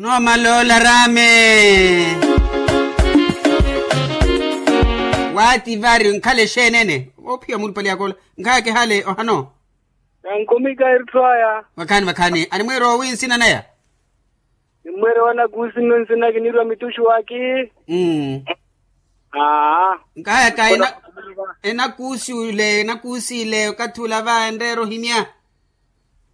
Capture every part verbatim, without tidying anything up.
Noomala olarame. Waati vari nkhale exeenene? Oophiya mulupale yakola. Nkhayaka ehale ohano. Yankhumika erutthu aya. Vakhaani vakhaani animwiira owi nsina naya? Nimweere wanakuusi nno nsina kiniirwa mituxu waki. Mm. Aa. Nkahayaka enakuusi ole enakuusi ole okathi ula va enreera ohimya.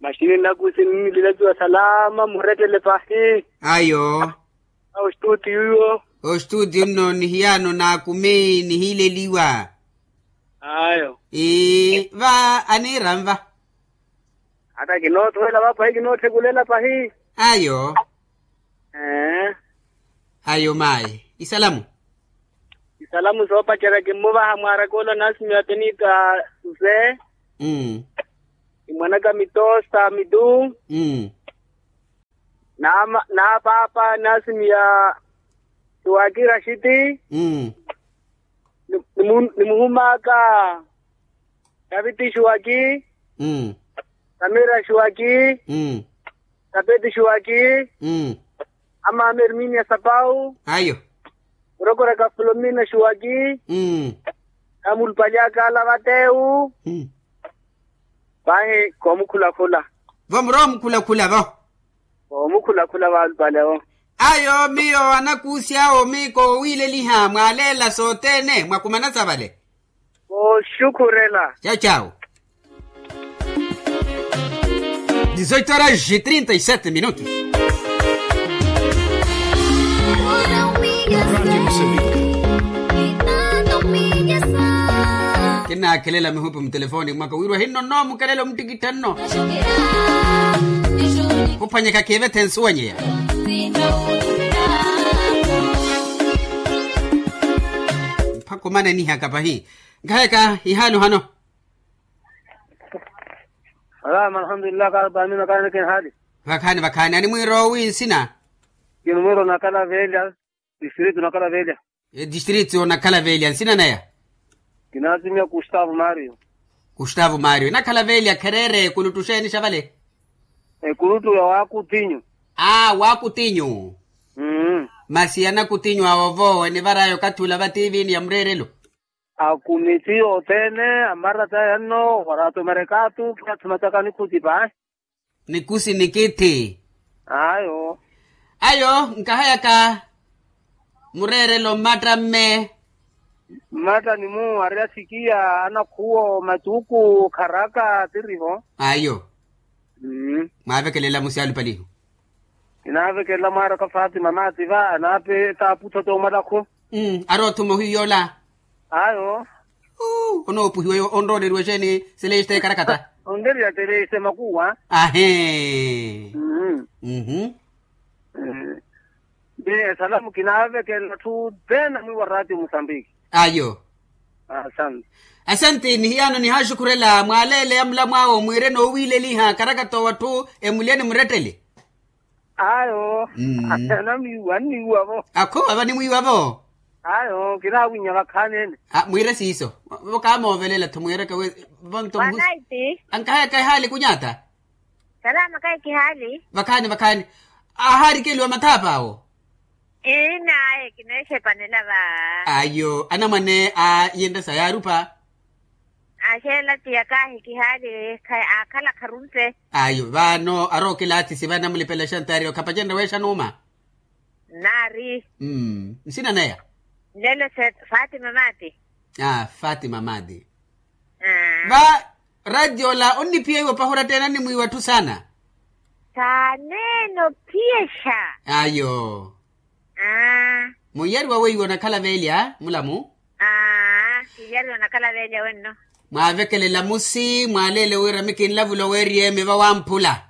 Maxini nnakuusi ninnililatiwa salama murettele pahi. Ayo. Ostutiyo. Ostutiyo nno nihiyano naakumi nihileliwa. Ayo. Ii va aniiranva. Hata kinoothowela va pahi kinootthekulela pahi. Ayo. Ayo mayi isalamu. Isalamu soopacerya kimmuvaha mwaaraka ola naasimiya penita. Suse. Ni mwanaka mitosa mitu. Naama naapaapa naasimiya. Suwaki rashiti. Nimuhumaaka. Taviti xuwaki. Samira xuwaki. Tapeti xuwaki. Amaama erminia sapau. Ayo. Murokoraka fulomina xuwaki. Namulupali akaala vatewu. Vahi koomukhulakhula. Vo muroomukhulakhula vo. Koomukhulakhula valupale vo. Ayo miyo anakuusi awo mi koowiileliha mwaaleela sothene mwakumana sa vale. Kooxukhurela. Cawu cawu. Dezoito horas e trinta e sete minutos. Kinaakhelela mihupi mutelefoni mwaka wirwa hinno nno mukelela omuttikittha nno. Khuphwanyeka kiivethe nsuwanyeya. Mpakha omananihaka pahi. Nkhayaka ihaali ohano. Alhamdulillahi kaarapamina kaaneke nhaali. Vakhaani vakhaani animwiira owi nsina? Kinimwiira onakhala veelya. Distritu onakhala veelya. Distritu onakhala veelya nsina naya? Kinaasimiya kustavo mario. Kustavo mario enakhala veelya khereere ekuluttu xeeni xa vale? Ekuluttu ya wakutinyu. Aa wakutinyu. Masi anakutinyu awo vo enivaraya okathi ula va tiivini ya mureerelo. Akumiti othene amarata yanno warato marekatu kiyathi mataka nikhuti pahi. Nikusi nikithi. Ayo. Ayo nkahayaka. Mureerelo mmatta mme. Mmatta ni mu ari asikiya anakhuwo matuku kharaka tirivo. Ayo. Mwaavekelela musi alupalihu. Kinaavekelela mwaaraka fatima maati va anaape taaputho toomwalakhu. Ari othuma ohiyu yoola. Ayo. Onoopuhiwa onrooleriwa exeeni seleista ekarakata. Onreriya seleista emakuwa. Ahee. Mmm. Mmm. Esalamu kinaavekelela atthu thene amwiiwa ratio musambiki. Ayo. Asante. Asante nihiyano nihaaxukhurela mwaaleeleya mulamw'awo mwiire noowiileliha karakata wa atthu emulye ni murettele. Ayo. Anamwiiwa anniiwa vo. Akho ava nimwiiwa vo. Ayo kinaawinya vakhaani ene. Mwiire siiso. Vo kaamoovelela-tho mwiireke wi. Vo nto muhusi. Ankahayaka ehaali kunyaata. Salama kahi kihaali. Vakhaani vakhaani. Ahaarikeliwa mathaapa awo. Ii naye kineexepanela va. Ayo anamwane a yinresa yaarupa. Axeela tiya kahi kihaali. Aakhala kharumpe. Ayo vano arookilaatisi vanamulipela exantaari okhapacenre weexa nuuma. Naari. Nsina naya? Nlelo. Fatima maati. Fatima maati. Va ratiola onniphiya iwo pahi orattene annimwiiwa atthu saana. Saaneene ophiyexa. Ayo. Munyariwa weiwo onakhala veelya mulamu. Kinyariwa onakhala veelya wenno. Mwaavekelela musi mwaaleele wira mikinlavula oweeriy'emi vawamphula.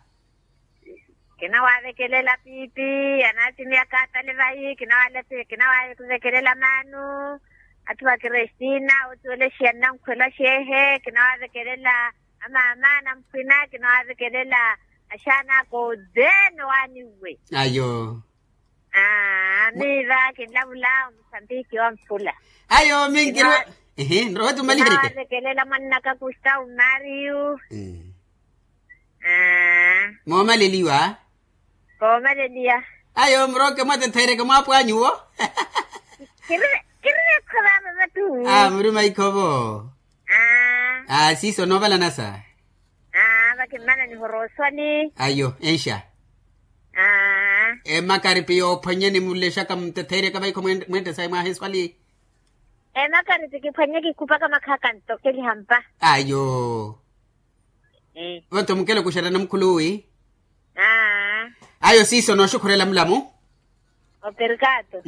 Kinawaavekelela piipi anaatimiya kaatale vayi kinawaavekelela maanu. Atthu va kristina otuwelexiya nnankhwela xeehe kinawaavekelela. Amaama anamphwina kinawaavekelela. Axaana aka othene waaniwe. Ayo. Aa miiva kinlavula omusambiki wa mphula. Ayo minkirwa. Ehe nrowa tumalihirike. Kinawaavekelela mwannaka kustavu mario. Aa. Moomaleliwa. Koomaleliya. Ayo muroke mwatetheereke mwaapwanyu wo. Kirire kirire khova mama tu. A muri maikhovo. A siiso noovalanasa. A vakimmanani horooswani. Ayo enxa. A emakaripi yoophwanyeni mulexaka mutetheereke vaikho mwente sayi mwaha eswali. Emakaripi kiphwanye kikupaka makhaka ntokeliha mpa. Ayo. Vanto mukelo kuxerana mukhuluwi. Ayo siiso nooxukhurela mulamu. Operikato.